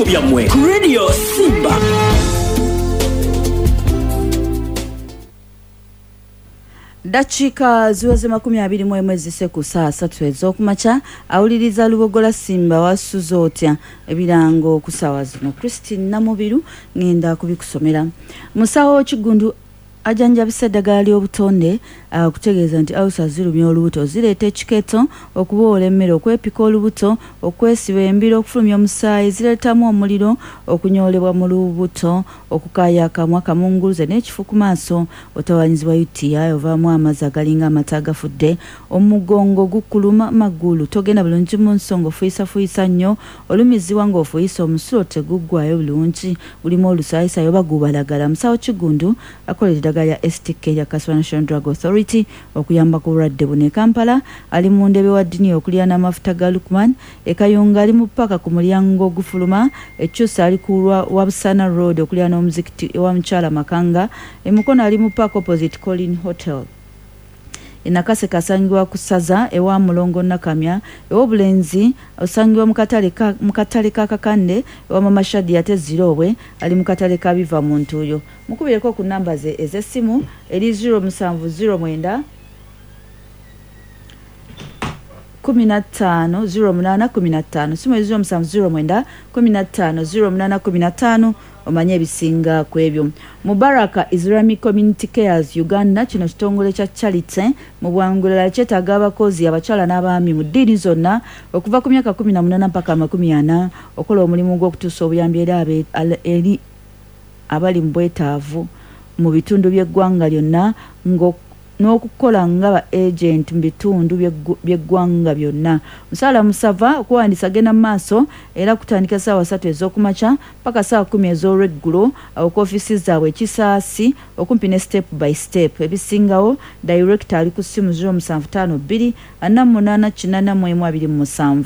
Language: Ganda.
Ebirango byammwe ku Radio Simba. Dakiika ziweze 21 ezise ku ssaawa 3 ez'okumakya. Awuliriza Lubogola Simba, wasuze otya? Ebirango ku ssaawa zino, Christine Namubiru ngenda kubikusomera. Musawo Kigundu ajanjabisa eddagala ly'obutonde, okutegeeza nti ulcer zirumya olubuto, zireeta ekiketo, okuboola emmere, okwepika olubuto, okwesiba embiro, okufulumya omusaayi, zireetamu omuliro, okunyoolebwa mu lubuto, okukaaya akamwa, kamunguluze n'ekifu ku maaso, otawanyizibwa UTI, ovaamu amazzi agalinga amata agafudde, omugongo gukuluma, magulu togenda bulungi mu nsonga, ofuyisafuuyisa nnyo, olumizibwa ng'ofuuyisa, omusulo teguggwayo bulungi, gulimu olusaayisayi oba gubalagala. Musawo Kigundu akolera eddagala lya STK erya Kaswa National Drug Authority okuyamba ku bulwadde buno. E Kampala ali mu ndebe wa Dini okuliraana amafuta ga Lukman. E Kayunga ali mu ppaaka ku mulyango ogufuluma. E Kyusa ali ku lwa Wabusana Road okuliraana omuzikiti ewa Mukyala Makanga. E Mukono ali mu ppaaka opposite Colin Hotel. E Nakaseke asangibwa ku Ssaza ewa Mulongo Nakamya. Ew'Obulenzi osangibwa mu katale ka mu katale ka Kakande ewa Mama Shadia, ate Ziroobwe ali mu katale ka Biva mu Ntuuyo. Mukubireko ku nnamba ze ez'essimu eri 0709 15 08 15. Simu eri 0709 15 08 15, omanye ebisinga ku ebyo. Mubaraka Islamic Community Cares Uganda, kino kitongole kya charity mu bwangulala, kyetaaga abakozi abakyala n'abaami mu ddiini zonna okuva ku myaka 18 mpaka 40 okola omulimu gw'okutuusa obuyambi eri abali mu bwetaavu mu bitundu by'eggwanga lyonna, n'okukola nga ba agent mu bitundu by'eggwanga byonna. Musaala musava. Okuwandiisa genda mu maaso era kutandika ssaawa 3 ez'okumakya paka ssaawa 10 ez'olweggulo, awo ku ofiisi zaabwe Kisaasi okumpi ne Step by Step. Ebisingawo, director ali ku ssimu 0752 48 81 27.